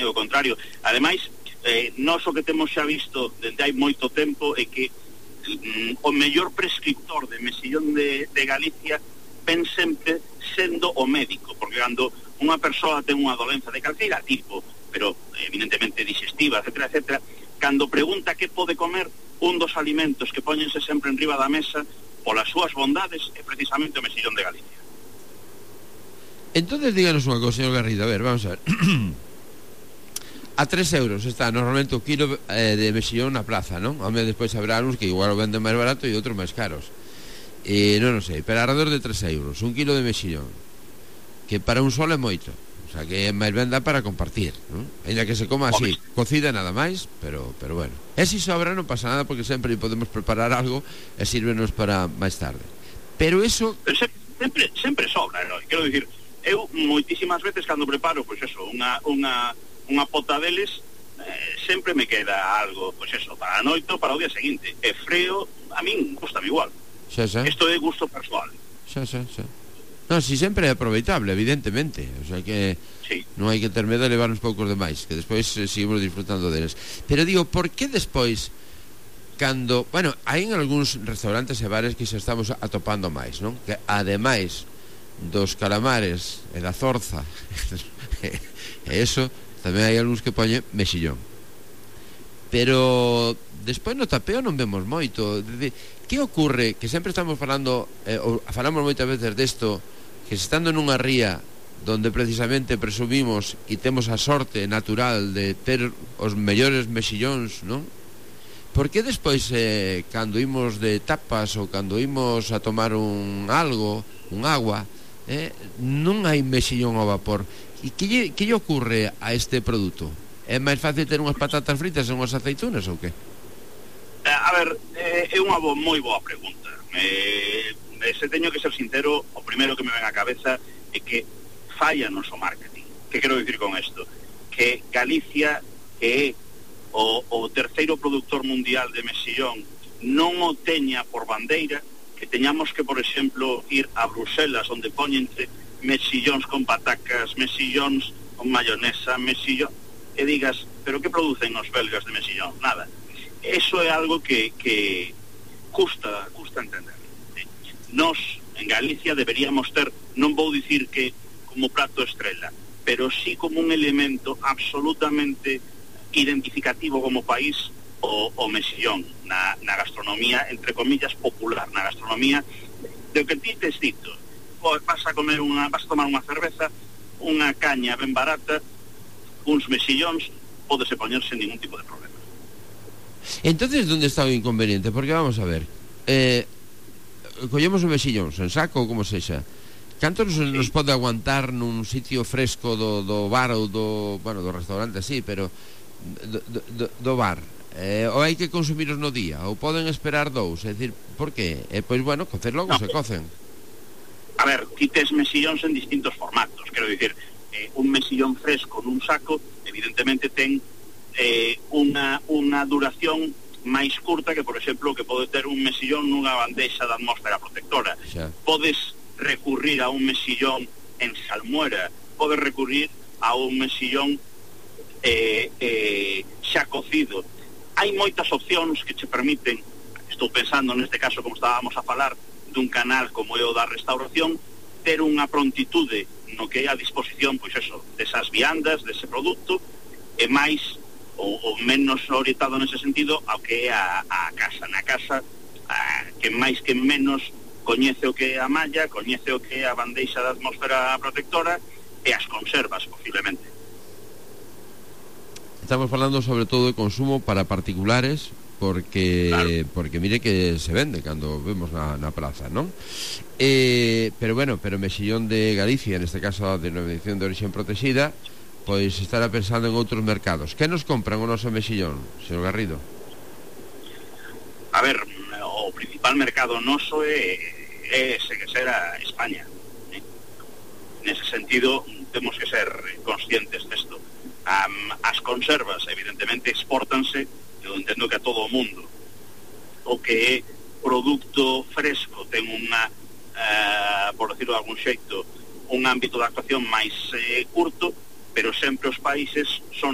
o contrario. Ademais, nós o que temos xa visto desde hai moito tempo é que o mellor prescriptor de mexillón de Galicia ven sempre sendo o médico, porque cando unha persoa ten unha dolenza de calqueira tipo, pero evidentemente digestiva, etcétera, etcétera, cando pregunta que pode comer, un dos alimentos que póñense sempre en riba da mesa polas súas bondades é precisamente o mexillón de Galicia. Entonces díganos unha cosa, señor Garrido, a ver, vamos a ver. A 3 euros está normalmente o kilo de mexillón na plaza, non? Home, despois habrá uns que igual o venden máis barato e outros máis caros. Non sei, pero alrededor de 3 euros un kilo de mexillón, que para un solo é moito, o sea que é máis ben dá para compartir, non? Ainda que se coma así, cocida nada máis, pero bueno. E se sobra non pasa nada, porque sempre podemos preparar algo e sírvenos para máis tarde. Pero eso... Pero sempre sobra, non? Quero dicir, eu moitísimas veces cando preparo, pois eso, unha pota deles, sempre me queda algo, pois eso, para a noite ou para o día seguinte. E freo, a min gustame igual. Isto é gusto persoal. Non, si sempre é aproveitable, evidentemente. O sea que sí, non hai que ter medo de levar uns poucos demais, que despois seguimos disfrutando deles. Pero digo, por que despois, cando... Bueno, hai en algúns restaurantes e bares que se estamos atopando máis, non? Que ademais dos calamares e da zorza e eso, tamén hai algúns que poñen mexillón. Pero despois no tapeo non vemos moito. Que ocorre? Que sempre estamos falando, falamos moitas veces desto, que estando nunha ría donde precisamente presumimos e temos a sorte natural de ter os mellores mexillóns, non? Por que despois, cando imos de tapas ou cando imos a tomar un agua, non hai mexillón ao vapor? E que lle ocorre a este produto? É máis fácil ter unhas patatas fritas e unhas aceitunas ou que? A ver, é unha moi boa pregunta. Se teño que ser sincero, o primeiro que me ven á cabeza é que falla noso marketing. Que quero dicir con isto? Que Galicia é o terceiro produtor mundial de mexillón, non o teña por bandeira, que teñamos que, por exemplo, ir a Bruselas, onde poñense mexillóns con patacas, mexillóns con mayonesa, mexillón, e digas, pero que producen os belgas de mexillón? Nada. Eso é algo que custa entender. Nós, en Galicia, deberíamos ter, non vou dicir que como prato estrela, pero sí como un elemento absolutamente identificativo como país o mexillón na gastronomía, entre comillas, popular, na gastronomía de que ti tes dito. Vas a tomar unha cerveza, unha caña ben barata, uns mexillóns, pódese poñer sen ningún tipo de problema. Entonces, ¿dónde está o inconveniente? Porque vamos a ver, collemos o mexillón en saco ou como sexa, canto nos pode aguantar nun sitio fresco do bar ou do restaurante así, pero do bar, ou hai que consumiros no día, ou poden esperar dous? É dicir, por que? Pois bueno, cocer logo se cocen. A ver, ti tes mexillóns en distintos formatos, quero dicir, un mexillón fresco nun saco evidentemente ten unha duración máis curta que, por exemplo, que pode ter un mexillón nunha bandexa de atmósfera protectora. Podes recurrir a un mexillón en salmuera, podes recurrir a un mexillón xa cocido. Hai moitas opcións que che permiten, estou pensando neste caso, como estábamos a falar, dun canal como é o da restauración, ter unha prontitude no que é a disposición, pois eso, desas viandas, dese produto, e máis ou menos orientado nese sentido ao que é a casa. Na casa, que máis que menos coñece o que é a malla, coñece o que é a bandeixa da atmósfera protectora e as conservas, posiblemente. Estamos falando sobre todo de consumo para particulares, porque claro, porque mire que se vende cando vemos na plaza, non? Pero bueno, pero mexillón de Galicia, neste caso a denominación de origen protegida, pois estará pensando en outros mercados. Que nos compran o noso mexillón, señor Garrido? A ver, o principal mercado noso é será España. Nese sentido, temos que ser conscientes desto. As conservas, evidentemente, exportanse, eu entendo que a todo o mundo. O que é produto fresco ten unha, por decirlo de algún xeito, un ámbito de actuación máis curto, pero sempre os países son